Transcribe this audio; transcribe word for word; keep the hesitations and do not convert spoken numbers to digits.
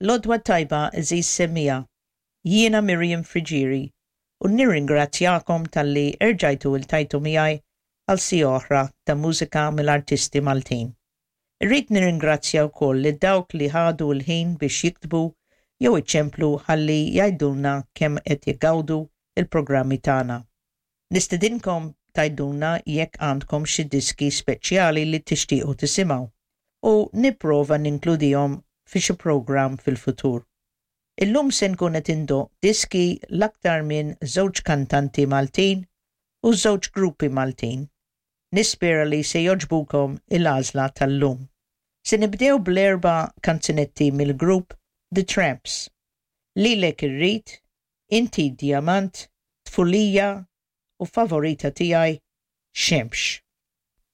L-għodwa t-tajba għeżież semmiegħa. Jiena Miriam Friggieri u nirringrazzjakom talli erġajtu iltqajtu miegħi għal siegħa oħra ta' mużika mill-artisti Maltin. Irrid nirringrazzja wkoll lil dawk li ħadu l-ħin biex jiktbu jew iċemplu ħalli jgħidulna kemm qed jgawdu il-programmi tagħna. Nistedinkom tgħidulna jekk għandkom xi diski speċjali li tixtiequ tisimgħu u nipprova ninkludihom fi xi programm fil-futur. Illum se nkun qed indoqq diski l-aktar minn żewġ kantanti Maltin u żewġ gruppi Maltin. Nispera li se jogħġbukom il-għażla tal-lum. Se nibdew bl-erba' kanzunetti mill-grupp The Tramps. Lilek Irrid, Inti Diamant, Tfulija u favorita tiegħi Xemx.